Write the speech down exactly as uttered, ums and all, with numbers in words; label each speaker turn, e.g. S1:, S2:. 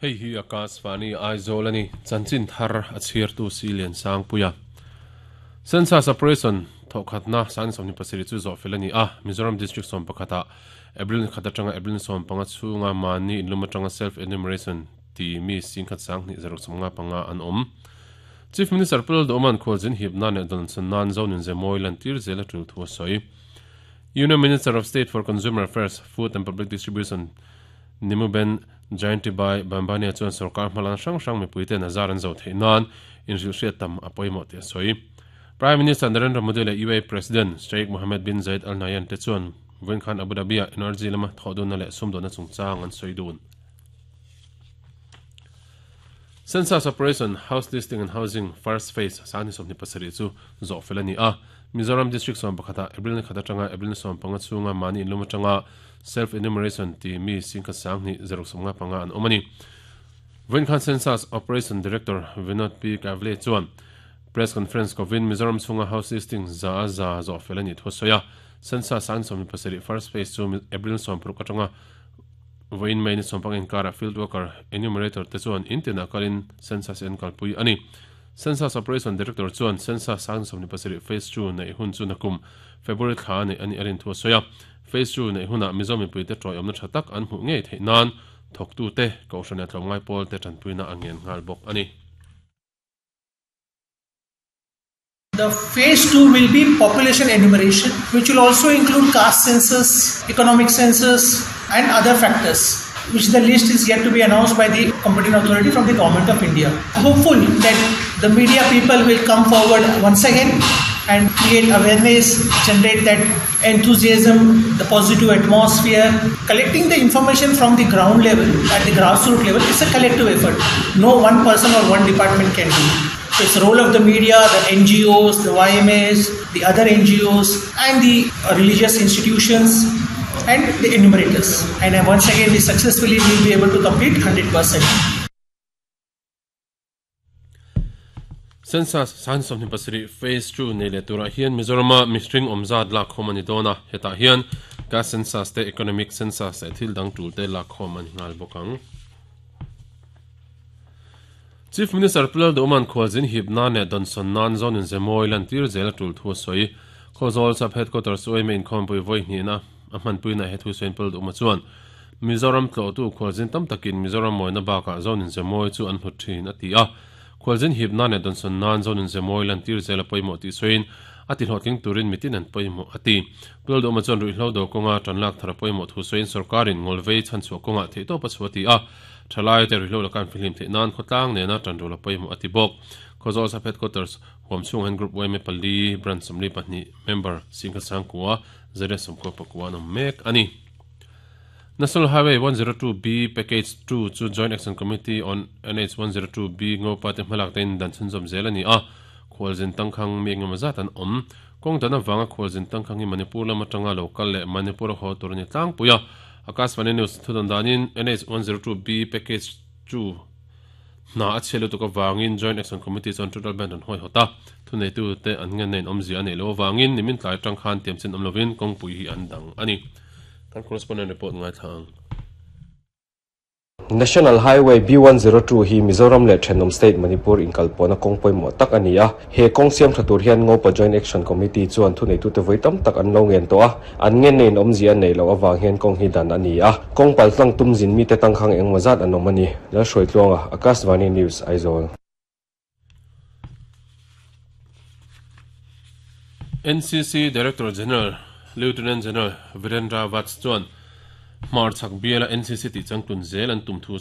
S1: Hei hi Akashvani Aizawl ani chanchin thar a chhiartu si lian sang puia Census operation thokhatna san somni pasiri chu zo felani a Mizoram district som pakhata April khata tanga April som panga chunga mani inluma tanga self enumeration ti mi singkhat sang ni zarok somnga panga an om Chief Minister Pul Doman khwaljin hipna ne don san zon in zemoi lan tir zela tu thu soi Union Minister of State for Consumer Affairs, Food and Public Distribution Nimuben Jayanti Bambania chuan sarkar hmalan hrang hrang mipuite nazar an zo thei nan in ril hriat tam a pawimawh tih a sawi. Prime Minister Narendra Modi leh U A E President Sheikh Mohammed bin Zayed Al Nahyan te chuan vawiin khan Abu Dhabi ah energy lama thawh dawnna leh sumdawnna chungchang an sawi dun. Census Operation, House Listing and Housing First Phase sangni sawmhnih pasarih chu zawh fel a ni a. Mizoram District sawm pakhata April ni khat atanga April ni sawm panga chunga mani inlum atanga self enumeration ti mi singkhat sangni zaruk sawmnga panga an awm a ni. Vawiin khan Census Operation Director Vinod P. Kavle chuan press conference kovin Mizoram chunga house listing za za zawh fel a ni thu a sawi a. Census sangni sawmhnih pasarih first phase chu April sawm paruk atanga vawiin mai ni sawm panga inkara field worker enumerator te chuan intina kalin census en kalpui ani. Census Operation Director chuan Census sangni sawmhnih pasarih phase two nei hun chu nakum February thla nei ani arin thu a sawi a. Phase two nei huna Mizo mipui te tawi awmna tha tak an hmuh ngei theih nan thawktu te kohhran tlawm ngai pawl te tanpuina a ngen nghal bawk ani.
S2: The phase two will be population enumeration, which will also include caste census, economic census and other factors, which the list is yet to be announced by the competent authority from the Government of India. Hopeful that the media people will come forward once again and create awareness, generate that enthusiasm, the positive atmosphere. Collecting the information from the ground level, at the grassroots level, is a collective effort. No one person or one department can do. So it's the role of the media, the N G Os, the Y M As, the other N G Os and the religious institutions and the enumerators. And once again, we successfully will be able to complete one hundred percent.
S1: Census sangni sawmhnih pasarih phase two nei leh turah hian Mizorama mihring awmzat lak khawm ani dawn a. Hetah hian caste census te economic census leh thil dang tul te lak khawm ani nghal bawk ang. Chief Minister Pulal Doman khwaljin hipna ne donson nan zon in zemoi lan tir zel tul thu soi Khawzawl sub headquarters oi main khompui voi hni na a hmanpui na he thu soin Pulal Doma chuan Mizoram tlo tu khwaljin tam takin Mizoram moina baka zon in zemoi chu an hlut thin ati a khwaljin hipna ne donson nan zon in zemoi lan tir zel poimo ti soin ati hlotling turin mitin an poimo ati Pulal Doma chuan ruihhlo do konga tanlak thara poimo thu soin sarkarin ngolvei chan chu konga theito pa chuati a thalai te ruihhlo lakan filim the nan khotlang ne na tanrola poimo ati bok Khawzawl sub headquarters huam chung hen group Y M A pali branch somli pahnih member singkhat sangkua zere somkua pakua no mek ani. National Highway one zero two B Package two chu Joint Action Committee on N H one zero two B ngopa te hmalak tein dan chhunzawm zel ani a khawlzin tangkhang mi engemaw zat an awm kawng dan awanga khawlzin tangkhang hi Manipur lama tanga local leh Manipur a haw tur ani tlangpui a. Akashvani News thudan danin N H one zero two B Package two na a chhelu tuka wangin Joint Action Committee chuan total ban an hoi hota thunei tu te an ngen nein awmzia a nei lo wangin nimin tlai tang khan tiam chin awm lovin kawngpui hi an dang ani. Kan correspondent report ngai thlang.
S3: National Highway B one zero two hi Mizoram leh Thenawm State Manipur inkalpawhna kawng pawimawh tak ani a. He kawng siam tha tur hian Ngopa Joint Action Committee chuan thunei tu te vawi tam tak an lo ngen tawh a. An ngen nein awmzia nei lo awang hian kawng hi dan ani a. Kawng pal tlang tum zin mi te tangkhang engemaw zat an awm ani. Lalhruai Tluanga, Akashvani News, Aizawl.
S1: N C C Director General Lieutenant General Virendra Vats chuan Hmar chak biala N C C ti changtun zel an tum thu